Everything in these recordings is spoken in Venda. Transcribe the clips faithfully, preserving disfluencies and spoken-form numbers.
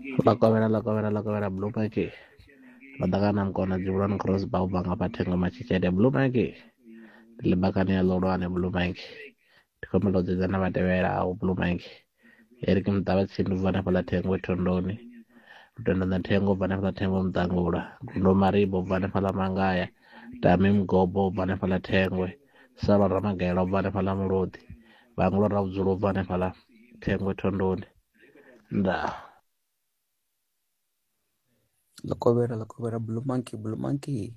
Ḽa kovhela ḽa kovhela ḽa kovhela Blue Monkey ḽa ḓakana mukona dzivhuloni cross bar ubva nga fha Thengo Matshitshede Blue Monkey ndi ḽibakani ya ḽihulwane Blue Monkey ndi khou humbela u dzedza na vha tevhelaho Blue Monkey Eric Muṱavhatsindi ubva hanefhaḽa Thengwe Thondoni Lutendo na Thengo ubva hanefhaḽa Thengwe Muṱangula Gundo Maribo ubva hanefhaḽa Mangaya Tami Mugobo ubva hanefhaḽa Thengwe Salwa Ramagela ubva hanefhaḽa Mulodi Vhangula Ravhudzulo ubva hanefhaḽa Thengwe Thondoni ndaa. Ḽa kovhela ḽa kovhela Blue Monkey Blue Monkey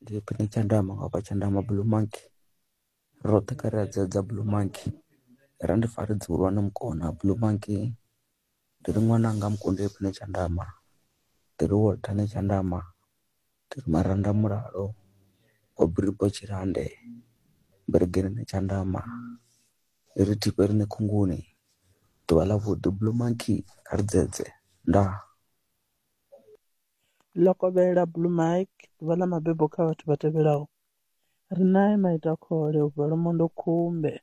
ndi khwine Tshandama nga hafha Tshandama Blue Monkey roṱhe kha ri a dzedza Blue Monkey ra ndi fare dzivhuluwa mukona Blue Monkey ndi ri ṅwananga mukunde khwine Tshandama ndi ri Walter Netshandama ndi ri Maranda Mulalo wa Biribo Tshilande Mberegeni Netshandama ndi ri Thipe rine Khunguni ḓuvha ḽa vhuḓi Blue Monkey kha ri dzedze ndaa. Ḽo kovhela Blue Mike ḓuvha ḽa mabebo kha vhathu vha tevhelaho. Ri nae Maitakhole u bva Lwamondo Khumbe,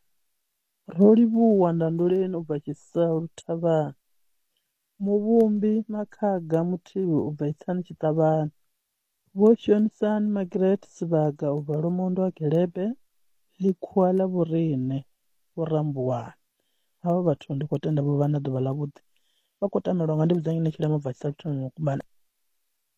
Rolivhuwa Ndanduleni u bva Tshisalu Thavhani, Muvhumbi Makhaga Muthivhi u bva Itsani Tshiṱavhani, Vho Shonisani Margaret Sivhaga u bva Lwamondo ha Gelebe, Ḽikhuwa ḽa Vhoriṋe Vho Rambuwana. Havha vhathu ndi khou tenda vho vha na ḓuvha ḽavhuḓi. Vha khou tamelwa nga ndi vhudza nṋe Tshilema u bva Tshisalu Mukumbani.